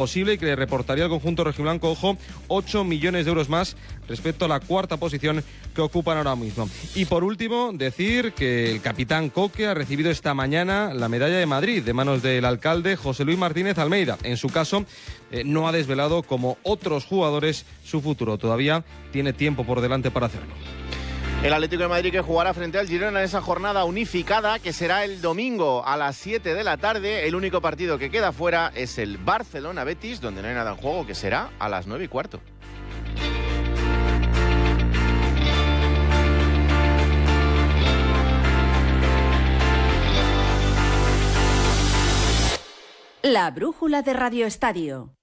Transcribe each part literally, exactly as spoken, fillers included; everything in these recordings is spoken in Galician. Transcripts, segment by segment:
posible y que le reportaría al conjunto rojiblanco, ojo, ocho millones de euros más respecto a la cuarta posición que ocupan ahora mismo. Y por último, decir que el capitán Coque ha recibido esta mañana la medalla de Madrid de manos del alcalde José Luis Martínez Almeida. En su caso, eh, no ha desvelado, como otros jugadores, su futuro. Todavía tiene tiempo por delante para hacerlo. El Atlético de Madrid que jugará frente al Girona en esa jornada unificada que será el domingo a las siete de la tarde. El único partido que queda fuera es el Barcelona-Betis, donde no hay nada en juego, que será a las nueve y cuarto. La brújula de Radio Estadio.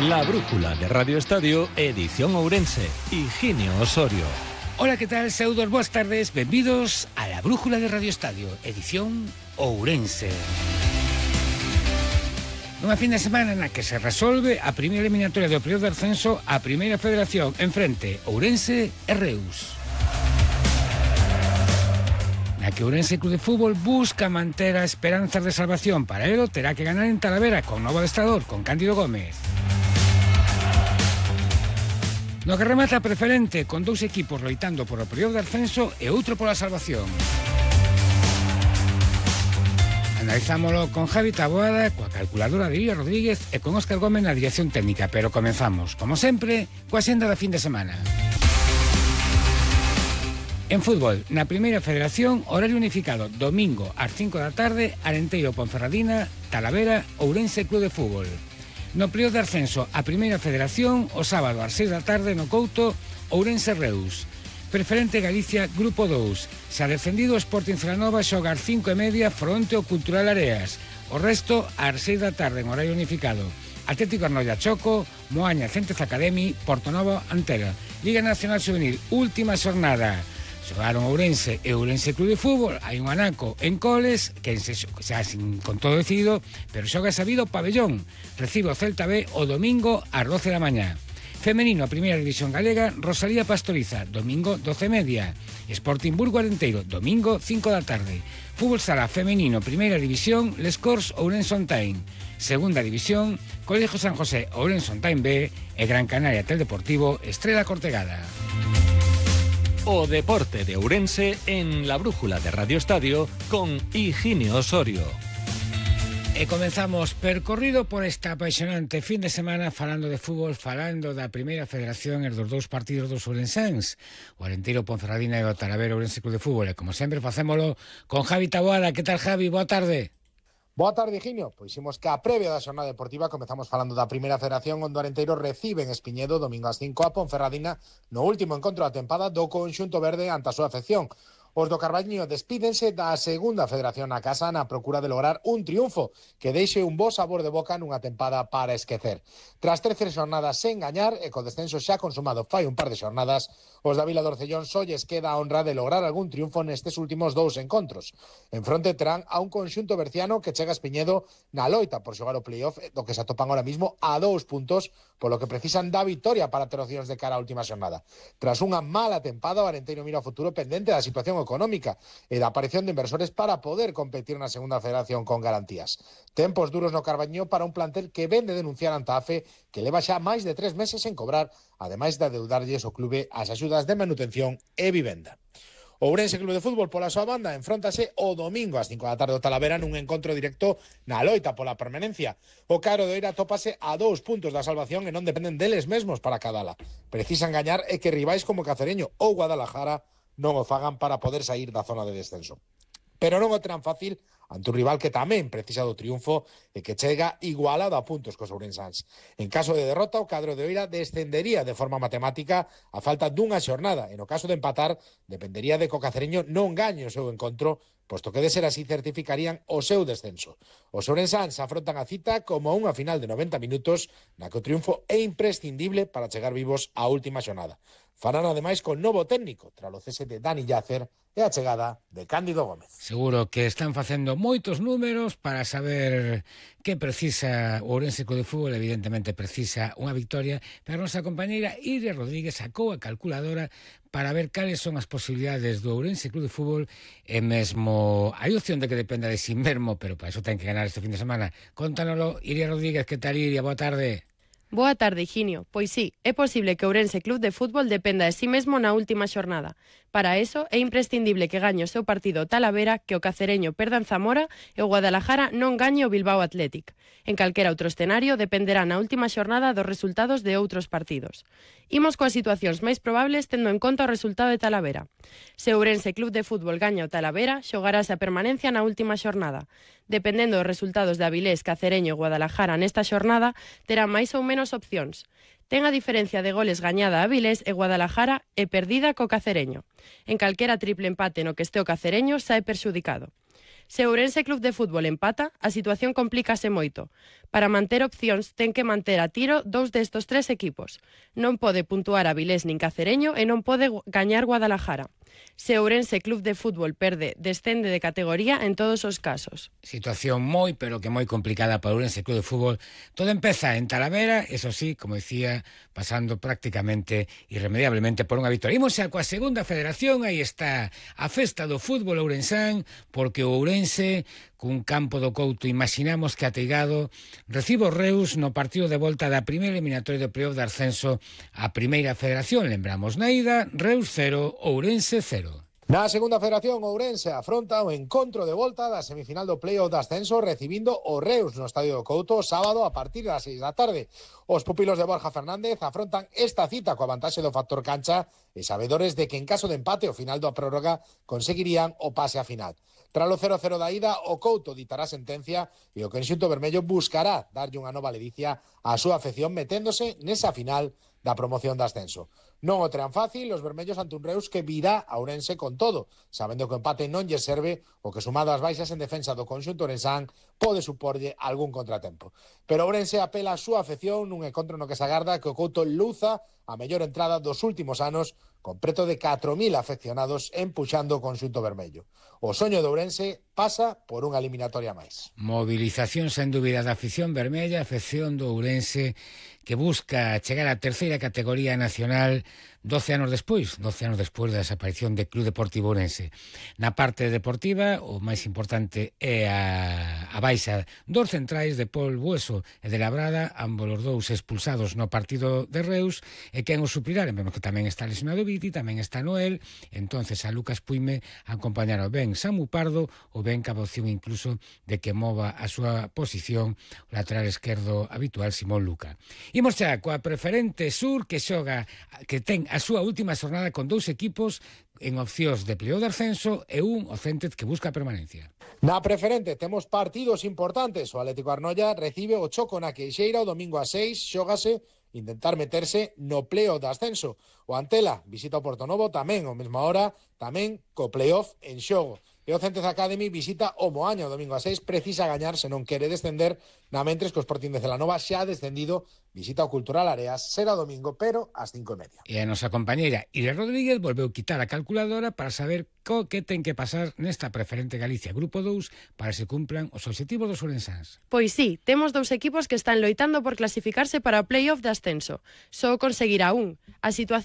La brújula de Radio Estadio, edición Ourense, Higinio Osorio. Hola, ¿qué tal? Saúdos, boas tardes, benvidos a la brújula de Radio Estadio, edición Ourense. Nunha fin de semana na que se resolve a primeira eliminatoria do período de ascenso á primeira federación en frente Ourense e Reus. Na que Ourense Club de Fútbol busca manter a esperanzas de salvación. Para ello terá que ganar en Talavera con novo adestrador, con Cándido Gómez. No que remata a preferente, con dous equipos loitando por o período de ascenso e outro pola salvación. Analizámoslo con Javi Taboada, coa calculadora de Iria Rodríguez e con Óscar Gómez na dirección técnica, pero comenzamos, como sempre, coa senda da fin de semana. En fútbol, na primeira federación, horario unificado, domingo ás cinco da tarde, Arenteiro Ponferradina, Talavera, Ourense Club de Fútbol. No período de ascenso a primeira federación, o sábado ás seis da tarde no Couto, Ourense Reus. Preferente Galicia, Grupo dous. Se ha defendido o Sporting Celanova xoga ás cinco e media fronte ao Cultural Areas. O resto ás seis da tarde en horario unificado. Atlético Arnoia Choco, Moaña Centes Academy, Portonovo Antela. Liga Nacional Juvenil, última xornada. Xogaron Ourense e Ourense Club de Fútbol. Hai un anaco en Coles, que se, xa sin, con todo decidido, pero xoga sabido Pabellón. Recibe o Celta B o domingo ás doce da mañá. Femenino, a primeira división galega, Rosalía Pastoriza, domingo doce e media. Sporting Burgo Arenteiro, domingo cinco da tarde. Fútbol Sala femenino, primeira división, Les Corts Ourense Ontain. Segunda división, Colegio San José Ourense Ontain B e Gran Canaria Teldeportivo Estrela Cortegada. O deporte de Ourense en la brújula de Radio Estadio con Higinio Osorio. E comenzamos percorrido por esta apaixonante fin de semana falando de fútbol, falando da primeira federación e dos dous partidos dos ourensáns, o Arenteiro Ponferradina e o Talavera Ourense Club de Fútbol. E como sempre facémolo con Javi Taboada. Que tal, Javi? Boa tarde. Boa tarde, Higinio. Pois imos que a previa da xornada deportiva comezamos falando da primeira federación, onde o Arenteiro recibe en Espiñedo domingo ás cinco a Ponferradina no último encontro da tempada do conxunto verde ante a súa afección. Os do Carballiño despídense da segunda federación na casa na procura de lograr un triunfo que deixe un bo sabor de boca nunha tempada para esquecer. Tras trece xornadas sen gañar e co descenso xa consumado fai un par de xornadas, os da Vila do Orcellón só lles queda a honra de lograr algún triunfo nestes últimos dous encontros. En fronte terán a un conxunto berciano que chega a Espiñedo na loita por xogar o playoff, do que se atopan ahora mismo a dous puntos, polo que precisan da victoria para ter opcións de cara á última xornada. Tras unha mala tempada, o Arenteiro mira ao futuro pendente da situación económica e da aparición de inversores para poder competir na segunda federación con garantías. Tempos duros no Carbaño para un plantel que ven de denunciar ante a A F E que leva xa máis de tres meses sen cobrar, ademais de adeudarlles o clube as axudas de manutención e vivenda. O Ourense Club de Fútbol, pola súa banda, enfróntase o domingo ás cinco da tarde ao Talavera nun encontro directo na loita pola permanencia. O Caro de Oira tópase a dous puntos da salvación e non dependen deles mesmos para cadala. Precisan gañar e que rivais como Cacereño ou Guadalajara non o fagan para poder sair da zona de descenso. Pero non o terán fácil ante un rival que tamén precisa do triunfo e que chega igualado a puntos cos ourensáns. En caso de derrota, o cadro de Oira descendería de forma matemática a falta dunha xornada. E no caso de empatar, dependería de que o Cacereño non gañe o seu encontro, posto que de ser así certificarían o seu descenso. Os ourensáns afrontan a cita como unha final de noventa minutos na que o triunfo é imprescindible para chegar vivos á última xornada. farán ademais con novo técnico, tras o cese de Dani Yacer e a chegada de Cándido Gómez. Seguro que están facendo moitos números para saber que precisa o Ourense Club de Fútbol. Evidentemente precisa unha victoria, pero a nosa compañeira Iria Rodríguez sacou a calculadora para ver cales son as posibilidades do Ourense Club de Fútbol e mesmo hai opción de que dependa de si mesmo, pero para eso ten que ganar este fin de semana. Contánoslo, Iria Rodríguez. Que tal, Iria? Boa tarde. Boa tarde, Higinio. Pois sí, é posible que o Ourense Club de Fútbol dependa de sí mesmo na última xornada. Para eso, é imprescindible que gañe o seu partido o Talavera, que o Cacereño perda en Zamora e o Guadalajara non gañe o Bilbao Athletic. En calquera outro escenario dependerá na última xornada dos resultados de outros partidos. Imos coas situacións máis probables tendo en conta o resultado de Talavera. Se o Ourense Club de Fútbol gaña o Talavera, xogarase a permanencia na última xornada. Dependendo dos resultados de Avilés, Cacereño e Guadalajara nesta xornada, terá máis ou menos opcións. Ten a diferencia de goles gañada a Avilés e Guadalajara e perdida co Cacereño. En calquera triple empate no que este o Cacereño sae perxudicado. Se o Ourense Club de Fútbol empata, a situación complícase moito. Para manter opcións, ten que manter a tiro dous destos tres equipos. Non pode puntuar Avilés nin Cacereño e non pode gañar Guadalajara. Se o Ourense Club de Fútbol perde, descende de categoría en todos os casos. Situación moi, pero que moi complicada para o Ourense Club de Fútbol. Todo empeza en Talavera, eso sí, como decía, pasando prácticamente irremediablemente por unha victoria. Imos xa coa segunda federación, aí está a festa do fútbol ourensán, porque o Ourense, cun campo do Couto, imaginamos que ateigado, recibe o Reus no partido de volta da primeira eliminatoria do playoff de ascenso á primeira federación. Lembramos, na ida, Reus cero, Ourense cero. Na segunda federación, Ourense afronta o encontro de volta da semifinal do playoff de ascenso recibindo o Reus no Estadio do Couto sábado a partir das seis da tarde. Os pupilos de Borja Fernández afrontan esta cita coa vantaxe do factor cancha e sabedores de que en caso de empate ao final da prórroga conseguirían o pase a final. Tras o cero cero da ida, o Couto ditará sentencia e o conxunto vermello buscará darlle unha nova ledicia á súa afección meténdose nesa final da promoción de ascenso. Non o terán fácil os vermellos ante un Reus que virá a Ourense con todo, sabendo que o empate non lle serve o que sumado ás baixas en defensa do conxunto ourensán pode suporlle algún contratempo. Pero Ourense apela a súa afección nun encontro no que se agarda que o Couto luza a mellor entrada dos últimos anos con preto de catro mil afeccionados empuxando o conxunto vermello. O soño de Ourense pasa por unha eliminatoria máis. Movilización sen dúbida da afición vermella, afección do Ourense que busca chegar á terceira categoría nacional doce anos despois, doce anos despois da desaparición do Club Deportivo Ourense. Na parte deportiva, o máis importante é a, a baixa dos centrais de Pol Bueso e de Labrada, ambos os dous expulsados no partido de Reus, e quen os suplirá, vemos que tamén está lesionado Viti, tamén está Noel, entonces a Lucas Puime acompañaron ben Samu Pardo ou ben cabe opción incluso de que mova a súa posición o lateral esquerdo habitual Simón Luca. Imos xa coa preferente sur que xoga, que ten a súa última xornada con dous equipos en opcións de playoff de ascenso e un o Céntez que busca a permanencia. Na preferente temos partidos importantes. O Atlético Arnoia recibe o Choco na Queixeira o domingo a seis, xógase intentar meterse no playoff de ascenso. O Antela visita o Portonovo tamén ao mesma hora, tamén co playoff en xogo. E o Céntez Academy visita o Moaña o domingo a seis, precisa gañar se non quere descender, na mentres que o Sporting de Celanova xa ha descendido, visita o Cultural Areas, será domingo, pero ás cinco e media. E a nosa compañeira Iria Rodríguez volveu quitar a calculadora para saber co que ten que pasar nesta preferente Galicia Grupo dous para se cumplan os obxectivos dos ourensáns. Pois sí, temos dous equipos que están loitando por clasificarse para o playoff de ascenso. Só conseguirá un. A situación